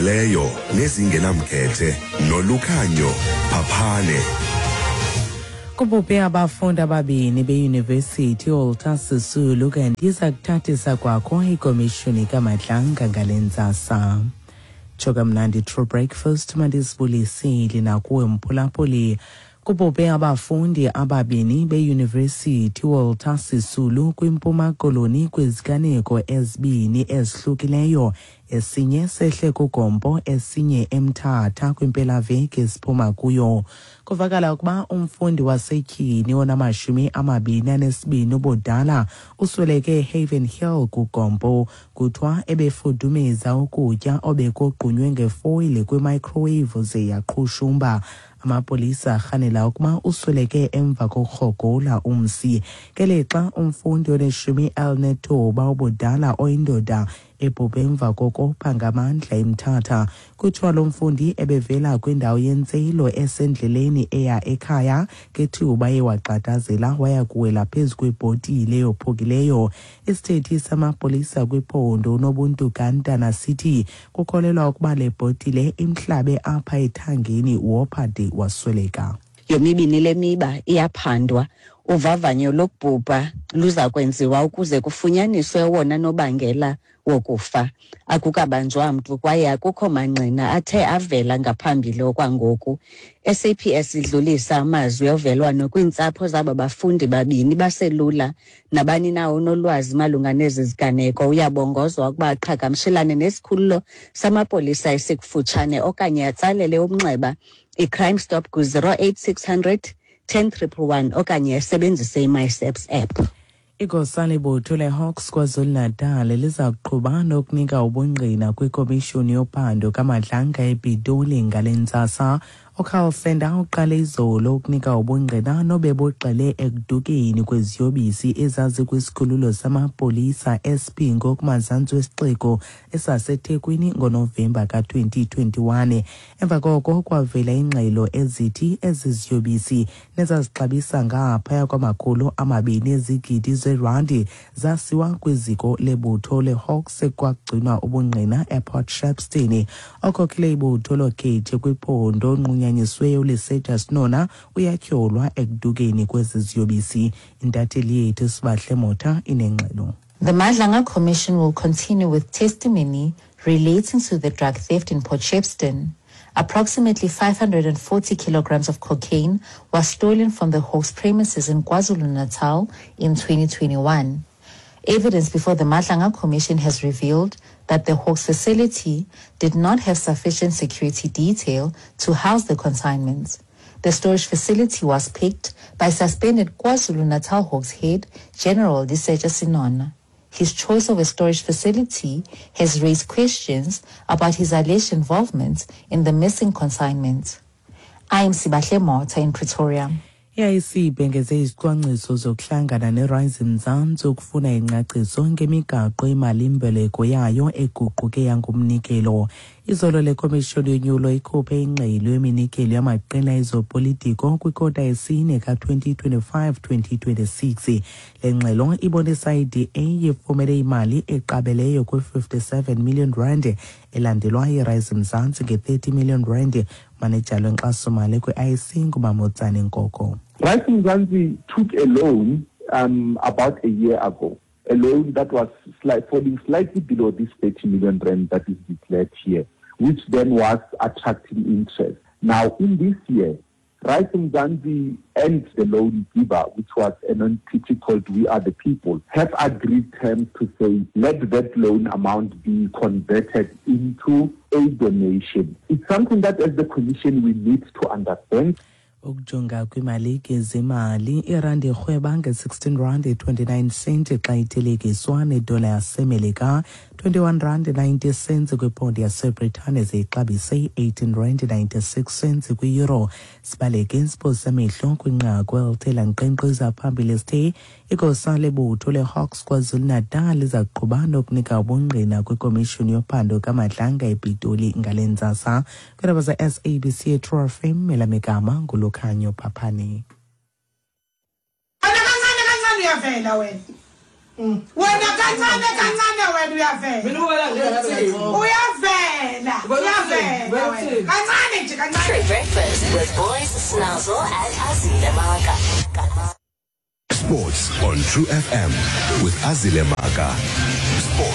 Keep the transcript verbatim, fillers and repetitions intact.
Leyo nezingenamkhethe noLukhanyo Phaphane. Kubhubhe abafundi ababini beyunivesithi iWalter Sisulu, kanti iza kuthathisa kwakho ikomishoni kaMadlanga ngale ntsasa. Tsho kamnandi, True Breakfast. Mandisibulisile nakuwe, mphulaphuli. Kubhubhe abafundi ababini beyunivesithi iWalter Sisulu kwiMpuma Koloni kwiziganeko ezibini ezihlukileyo. Esinye sehle kuGompo, esinye eMthatha kwimpelaveki esiphuma kuyo. Kuvakala ukuba umfundi wasetyhini onamashumi amabini anesibini ubudala usweleke eHaven Hill kuGompo. Kuthiwa ebefudumeza ukutya obekogqunywe ngefoyile kwimicrowave ze yaqhushumba. Amapolisa arhanela ukuba usweleke emva kokurhogola umsi. Ngelixa umfundi oneshumi elinethoba ubudala oyindoda ebhubhe emva kokopha ngamandla eMthatha. Kuthiwa lo mfundi ebevela kwindawo yentselo esendleleni eya ekhaya ngethuba ewagxadazela waya kuwela phezu kwebhotile eyophukileyo. Isithethi samapolisa kwiphondo uNobuntu Gantana sithi kukholelwa ukuba le bhotile imhlabe apha ethangeni, wopha de wasweleka. Yomibini le miba iyaphandwa. Uvavanyo lokubhubha luza kwenziwa ukuze kufunyaniswe owona nobangela wokufa. Akukabanjwa mntu kwaye akukho mangqina athe avela ngaphambili okwangoku. S A P S idlulisa amazwi ovelwano kwiintsapho zaba bafundi babini baselula. Nabani na onolwazi malunga nezi ziganeko uyabongozwa ukuba aqhagamshelane nesikhululo samapolisa esikufutshane okanye atsalele umnxeba iCrime Stop ku-zero eight six hundred ten triple one okanye asebenzise iMySAPS app. Igosa lebutho leHawks KwaZulu-Natal liza kuqhuba nokunika ubungqina kwikomishoni yophando kaMadlanga ePitoli ngale ntsasa. UCarl Sender uqale izolo ukunika ubungqina nobebugxile ekudukeni kweziyobisi ezazikwisikhululo samapolisa eSipingo kumazantsi wesixeko esaseThekwini ngoNovemba ka-twenty twenty-one. Emva koko kwavela ingxelo ezithi ezi ziyobisi, nezazixabisa ngaphaya kwamakhulu amabini ezigidi zerandi, zasiwa kwiziko lebutho leHawks ekwagcinwa ubungqina ePort Shepstone. Okhokhele ibutho lokhethi kwiphondo onqunyanyisiweyo uLesetja Senona uyatyholwa ekudukeni kwezi ziyobisi. Intatheli yethu Sibahle Motha inengxelo. The Madlanga Commission will continue with testimony relating to the drug theft in Port Shepstone. Approximately five hundred forty kilograms of cocaine was stolen from the Hawks premises in KwaZulu-Natal in twenty twenty-one. Evidence before the Madlanga Commission has revealed that the Hawks facility did not have sufficient security detail to house the consignments. The storage facility was picked by suspended KwaZulu-Natal Hawks head General Lesetja Senona. His choice of a storage facility has raised questions about his alleged involvement in the missing consignment. I am Sibahle Motha in Pretoria. I-I E C ibhengeze izicwangciso zokuhlangana neRise Mzansi ukufuna ingcaciso ngemigaqo imali-mboleko yayo eguquke yangumnikelo. Izolo le komishoni yonyulo ikhuphe ingxelo yeminikelo yamaqela ezopolitiko kwikota yesine ka-twenty twenty-five twenty twenty-six. Le ngxelo ibonisa i-D A ifumene imali eqabeleyo kwi-fifty-seven million rand, elandelwa yiRise Mzansi nge-thirty million rand. Manejala wenkxasomali kwi-I E C nguMamotsane Nkoko. Rise Mzansi took a loan um, about a year ago, a loan that was slight, falling slightly below this thirty million rand that is declared here, which then was attracting interest. Now, in this year, Rise Mzansi and the loan giver, which was an entity called We Are the People, have agreed terms to say, let that loan amount be converted into a donation. It's something that as the Commission we need to understand. Ukujonga kwimalike zemali, irandi irhweba nge-sixteen rand twenty-nine cent xa ithelekiswa nedola yaseMelika, twenty-one rand ninety cents kwiponde yaseBritane, ze ixabise i-eighteen rand ninety-six cents kwi-euro. Sibaleke siphosa amehlo kwinqaku elithe lankqenkqeza phambili sithe igosa lebutho leHawks KwaZulu-Natal liza kuqhuba nokunika ubungqina kwikomishoni yophando kaMadlanga ePitoli ngale ntsasa. Kwiindaba ze-S A B C True F M, elamigama nguLukhanyo Phaphane. Kancane kancane uyavela wena. Wena kancane kancane, wena uyavela. Mina ubala nje. Uyavela, uyavela wena. Kancane nje, kancane. True Breakfast with Boys, Snazzle and Azile Maka. Sports on True F M with Azile Maka. Sports.